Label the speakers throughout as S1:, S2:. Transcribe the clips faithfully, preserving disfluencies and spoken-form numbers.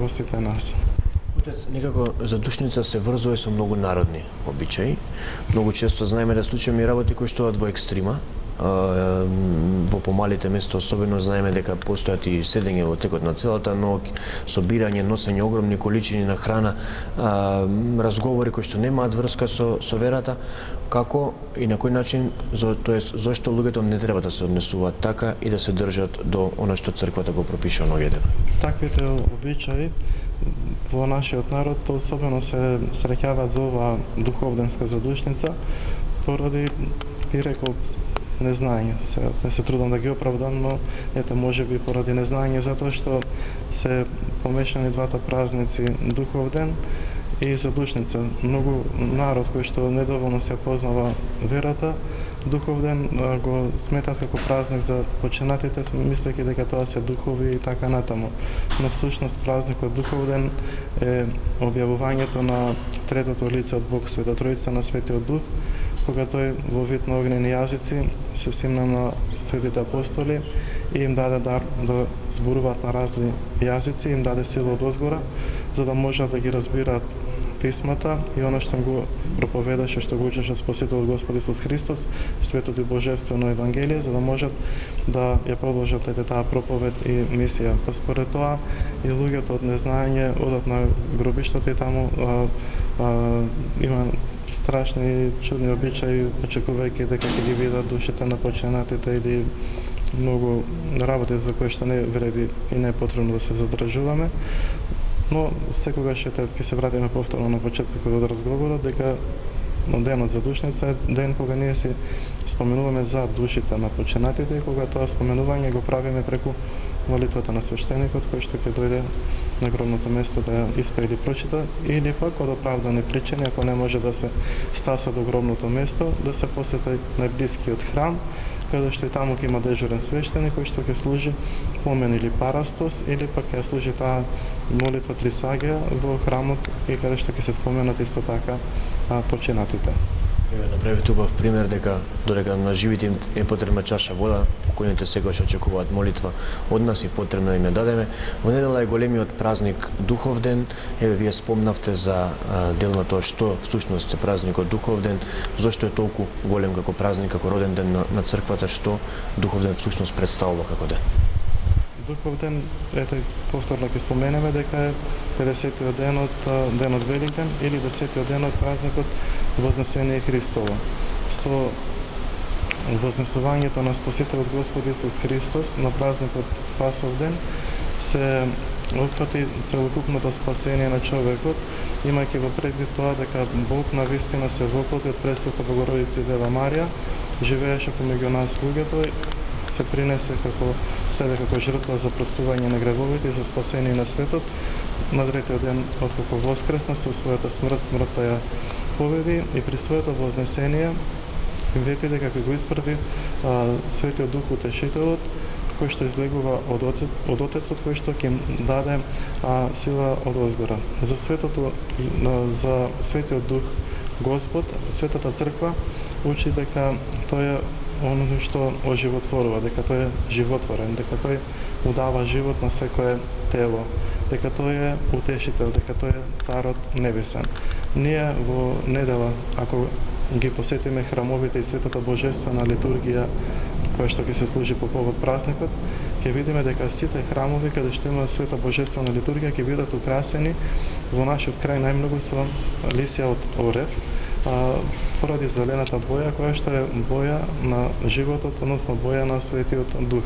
S1: во сите нас.
S2: Отец, некако задушница се врзува со многу народни обичаи. Многу често знаеме да случајме и работи кои што од во екстрима. Во помалите места особено знаеме дека постојат и седење во текот на целата ноќ, собирање, носење огромни количини на храна, разговори кои што немаат врска со со верата. Како и на кој начин, тоест зошто луѓето не треба да се однесуваат така и да се држат до она што црквата го пропишува на овие дена?
S1: Таквите обичаи во нашиот народ особено се среќаваат за оваа духовденска задушница поради, би рекол, незнање. Се, не се трудам да ги оправдам, но ете можеби поради незнање, затоа што се помешани двата празници, духовден и задушница. Многу народ кој што недоволно се познава верата, духовден го сметат како празник за починатите, мислејќи дека тоа се духови и така натаму. Но всушност празникот духовден е објавувањето на третото лице од Бог, Света Троица, на Светиот Дух, кога тој во вид на огнени јазици се симна на светите апостоли и им даде дар да зборуваат на разни јазици, им даде сила од озгора, за да можат да ги разбираат писмата и она што го проповедаше, што го учеше Спасителот Господ Исус Христос, светото и божествено евангелие, за да можат да ја продолжат ете таа проповед и мисија. Па според тоа и луѓето од незнање одат на гробиштата и таму а, а, има страшни чудни обичаи, очекувајќи дека ќе ги видат душите на починатите или многу работи за кои што не вреди и не е потребно да се задржуваме. Но секогаш ете ќе се вратиме повторно на почетокот од разговорот дека денот за душница е ден кога ние си споменуваме за душите на починатите и кога тоа споменување го правиме преку молитвата на свештеникот кој што ќе дојде на гробното место да ја испее или прочита, или пак од оправдани причини, ако не може да се стаса до гробното место, да се посети најблискиот храм, каде што и таму ќе има дежурен свештеник кој што ќе служи помен или парастос, или пак ќе служи таа молитва Трисагија во храмот и каде што ќе се споменат исто така а, починатите.
S2: Направивте убав пример дека додека на живите им е потребна чаша вода, покојните секогаш очекуваат молитва од нас и потребно да им ја дадеме. Во недела е големиот празник Духовден. Еве вие спомнавте за а, дел на тоа што всушност е празникот Духовден, зошто е толку голем како празник, како роден ден на, на црквата, што Духовден всушност представува како ден.
S1: Духовден, ете, повторно ќе споменеме дека е педесетиот ден од денот Великден или десетиот ден од празникот Вознесение Христово. Со вознесувањето на Спасителот Господ Исус Христос на празникот Спасов ден се опфати целокупното спасение на човекот, имајќи во предвид тоа дека Бог навистина се воплоти од Пресвета Богородица и Дева Марија, живееше помеѓу нас луѓето, се принесе како себе како жртва за простување на гревовите и за спасение на светот. На третиот ден откако воскресна со својата смрт, смртта ја победи и при своето вознесение вети дека го испрати а, Светиот Дух Утешителот, кој што излегува од Отецот, од Отецот кој што ќе даде а, сила од озгора. За светото, за Светиот Дух Господ, Светата Црква учи дека тој е оно што оживотворува, дека тој е животворен, дека тој му дава живот на секое тело, дека тој е утешител, дека тој е Царот Небесен. Ние во недела, ако ги посетиме храмовите и Светата Божествена литургија, која што ќе се служи по повод празникот, ќе видиме дека сите храмови каде што има Света Божествена литургија ќе бидат украсени во нашиот крај најмногу со лисја од орев, а, поради зелената боја која што е боја на животот, односно боја на Светиот Дух.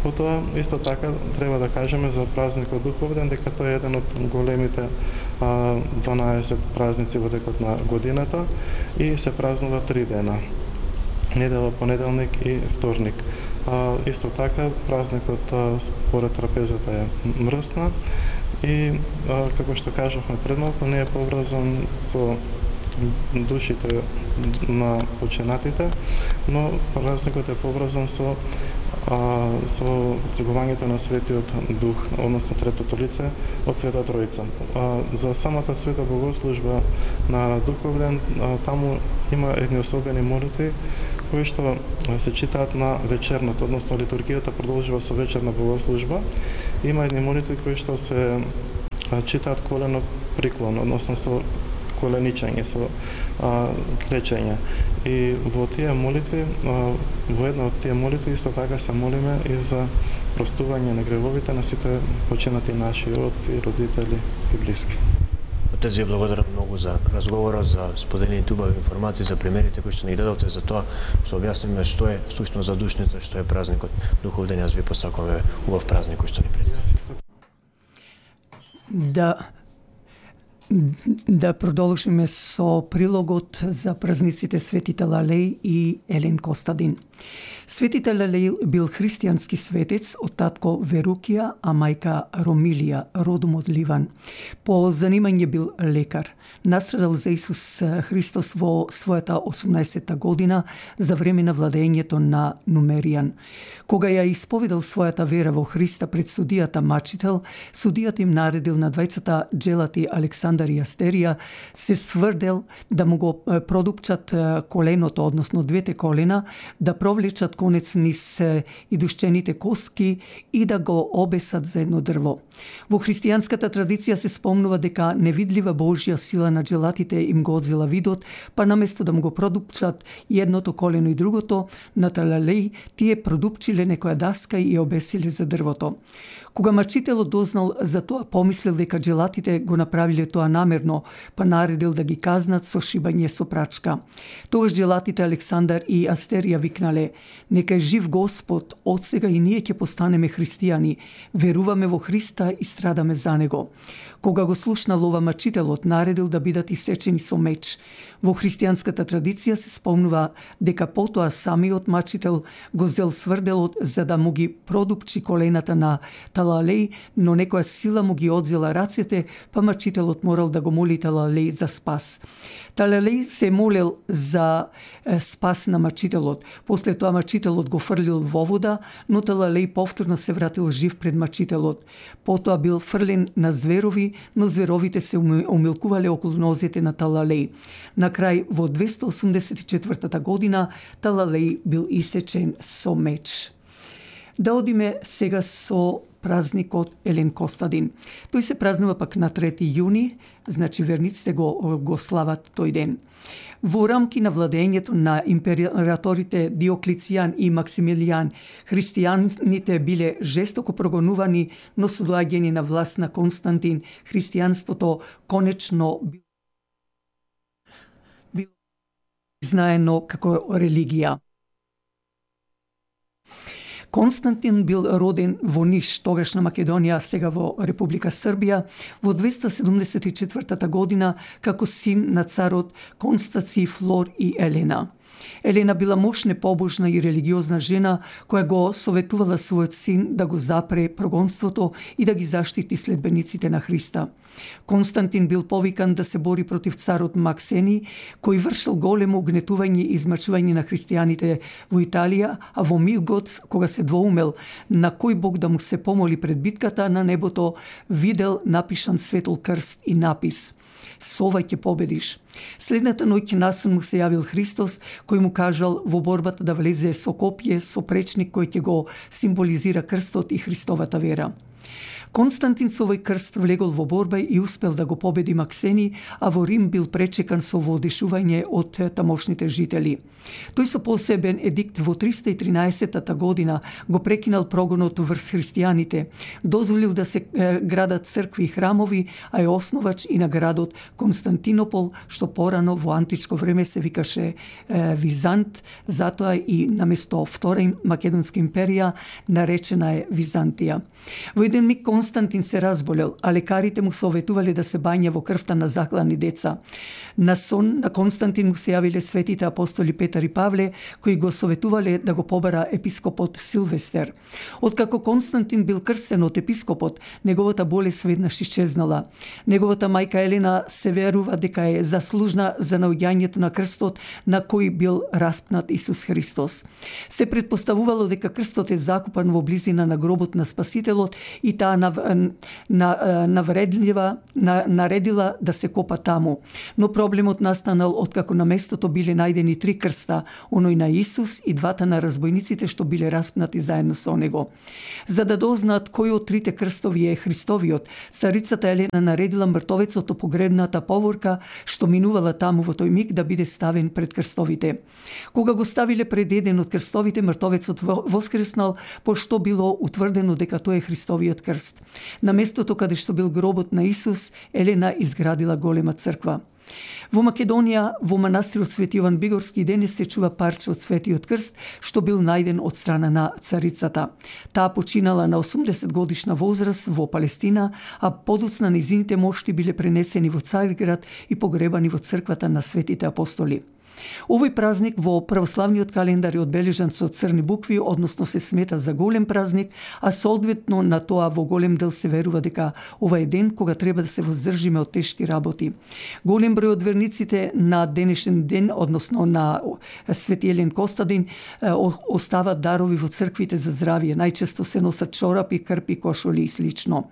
S1: Потоа исто така треба да кажеме за празникот Духовден дека тој е еден од големите а, дванаесет празници во текот на годината и се празнува три дена: недела, понеделник и вторник. А, исто така празникот а, според трапезата е мрсна и а, како што кажавме пред малку, не е поврзан со душите на починатите, но празникот е поврзан со а, со слегувањето на Светиот Дух, односно третото лице од Света Троица. А, за самата света богослужба на Духовден, а, таму има едни особени молитви кои што се читаат на вечерното, односно литургијата продолжува со вечерна богослужба. Има едни молитви кои што се а, читаат колено приклон, односно со коленичење, со а, клечење. И во тие молитви, а, во една од тие молитви исто така се молиме и за простување на гревовите на сите починати наши отци, родители и блиски.
S2: Отец, ја благодарам многу за разговорот, за споделените убави информации, за примерите кои што ни дадовте, за тоа што објасниме што е всушност задушница, што е празникот Духов ден. Јас ви посакувам убав празник кој што ни предстои.
S3: Да да продолжиме со прилогот за празниците Свети Талалеј и Елен Костадин. Свети Талалеј бил христијански светец од татко Верукија, а мајка Ромилија, родом од Ливан. По занимање бил лекар. Настрадал за Исус Христос во својата осумнаесетта година за време на владењето на Нумеријан. Кога ја исповедал својата вера во Христа пред судијата Мачител, судијата им наредил на двајцата джелати Александар и Астерија се сврдел да му го продупчат коленото, односно двете колена, да провлечат конец низ идушчените коски и да го обесат за едно дрво. Во христијанската традиција се спомнува дека невидлива Божја сила на джелатите им го одзела видот, па наместо да му го продупчат и едното колено и другото, на Талалеј тие продупчиле некоја даска и ја обесиле за дрвото. Кога мачителот дознал за тоа, помислил дека джелатите го направиле тоа намерно, па наредил да ги казнат со шибање со прачка. Тогаш джелатите Александар и Астерија викнале: "Нека е жив Господ, од сега и ние ќе постанеме христијани, веруваме во Христа и страдаме за него." Кога го слушнал ова, мачителот наредил да бидат исечени со меч. Во христијанската традиција се спомнува дека потоа самиот мачител го зел сврделот за да му ги продупчи колената на Талалеј, но некоја сила му ги одзела рацете, па мачителот морал да го моли Талалеј за спас. Талалеј се молел за е, спас на мачителот. После тоа мачителот го фрлил во вода, но Талалеј повторно се вратил жив пред мачителот. Потоа бил фрлен на зверови, но зверовите се умилкувале околу нозете на Талалеј. На крај, во двеста осумдесет и четвртата година, Талалеј бил исечен со меч. Да одиме сега со празникот Елен Костадин. Тој се празнува пак на трети јуни, значи верниците го, го слават тој ден. Во рамки на владењето на императорите Диоклицијан и Максимилијан, христијаните биле жестоко прогонувани, но со доаѓање на власт на Константин, христијанството конечно било знаено како религија. Константин бил роден во Ниш, тогашна Македонија, сега во Република Србија, во двеста седумдесет и четвртата година како син на царот Констаци, Флор и Елена. Елена била мощна, побожна и религиозна жена која го советувала својот син да го запре прогонството и да ги заштити следбениците на Христа. Константин бил повикан да се бори против царот Максени, кој вршил големо угнетување и измачување на христијаните во Италија, а во мигот, кога се двоумел на кој бог да му се помоли пред битката, на небото видел напишан светол крст и напис: "Со ова ќе победиш." Следната ноќ насон му се јавил Христос, кој му кажал во борбата да влезе со копје, со пречник кој ќе го символизира крстот и Христовата вера. Константин со овој крст влегол во борба и успел да го победи Максени, а во Рим бил пречекан со воодишување од тамошните жители. Тој со посебен едикт во триста и тринаесетта година го прекинал прогонот врз христијаните, дозволил да се е, градат цркви и храмови, а е основач и на градот Константинопол, што порано во античко време се викаше е, Визант, затоа и наместо Втора Македонска империја наречена е Византија. Во еден миг Константин се разболел, а лекарите му советувале да се бања во крвта на заклани деца. На сон на Константин му се јавиле светите апостоли Петар и Павле, кои го советувале да го побара епископот Силвестер. Откако Константин бил крстен од епископот, неговата болест веднаш исчезнала. Неговата мајка Елена се верува дека е заслужна за наоѓањето на крстот на кој бил распнат Исус Христос. Се предпоставувало дека крстот е закупан во близина на гробот на Спасителот и таа нав, на, навредлива, на, наредила да се копа таму. Но проблемот настанал откако на местото биле најдени три крста, оној на Исус и двата на разбойниците што биле распнати заедно со него. За да дознаат кој од трите крстови е Христовиот, царицата Елена наредила мртовецот од погребната поворка што минувала таму во тој миг да биде ставен пред крстовите. Кога го ставиле пред еден од крстовите, мртовецот воскреснал, пошто било утврдено дека тој е Христовиот крст. На местото каде што бил гробот на Исус, Елена изградила голема црква. Во Македонија, во манастирот Свети Јован Бигорски денес се чува парче од Светиот крст, што бил најден од страна на царицата. Таа починала на осумдесет годишна возраст во Палестина, а подоцна нејзините мошти биле пренесени во Цариград и погребани во црквата на Светите апостоли. Овој празник во православниот календар е одбележан со црни букви, односно се смета за голем празник, а соодветно на тоа во голем дел се верува дека ова е ден кога треба да се воздржиме од тешки работи. Голем број од верниците на денешен ден, односно на Свети Елен Костадин, остават дарови во црквите за здравје. Најчесто се носат чорапи, крпи, кошули и слично.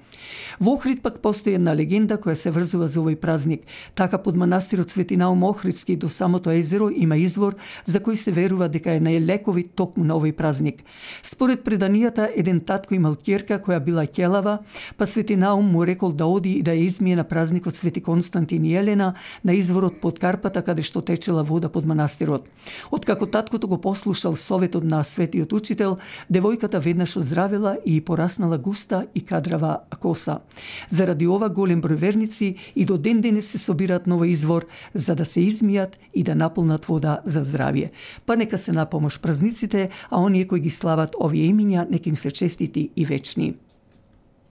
S3: Во Охрид пак постои една легенда која се врзува за овој празник. Така под манастирот Свети Наум Охридски до самото езеро има извор за кој се верува дека е најлековит токму на овој празник. Според преданијата, еден татко имал ќерка која била ќелава, па Свети Наум му рекол да оди и да ја измие на празникот Свети Константин и Елена на изворот под Карпата каде што течела вода под манастирот. Откако таткото го послушал советот на светиот учител, девојката веднаш оздравела и пораснала густа и кадрава коса. Заради ова голем број верници и до ден денес се собираат на овој извор за да се измијат и да наполнат вода за здравје. Па нека се на помош празниците, а оние кои ги слават овие имиња, нека им се честити и вечни.